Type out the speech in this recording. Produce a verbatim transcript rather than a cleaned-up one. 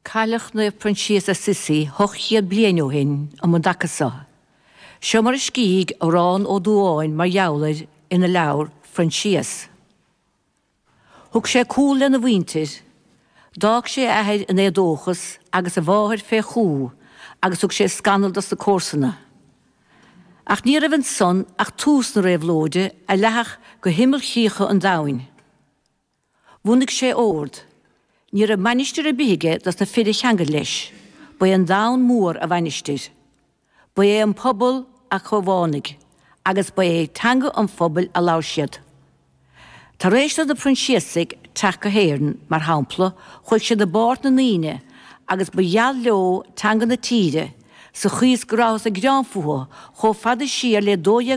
Cailleadh Naomh Proinsias Assisi ocht chéad bliain ó shin um an dtaca seo. Seo mar a scrígh Odhrán Ó Dubháin mar gheall air ina leabhar Proinsias. Thug sé cúl lena mhuintir, d'fhág sé a athair in éadóchas agus a mháthair fé chú agus thug sé scannal dos na comharsana. Ach ní raibh ansan ach tús na réabhlóide a leathfadh go himeallchríocha an domhain. Bhunaigh sé ord. Ní raibh mainistir ar bith aige dos na fir a cheangail leis, ba é an domhan mór a mhainistir. Ba é an pobal a chomhlánaigh, agus ba é teanga an phobail a labhair siad. Tar éis do na Proinsiasaigh teacht go hÉirinn, mar shampla, chuaigh siad i bpáirt na ndaoine agus ba gheal leo teanga na tíre, sa chaoi is go rabhthas ag gearán fúthu chomh fada siar le dó dhéag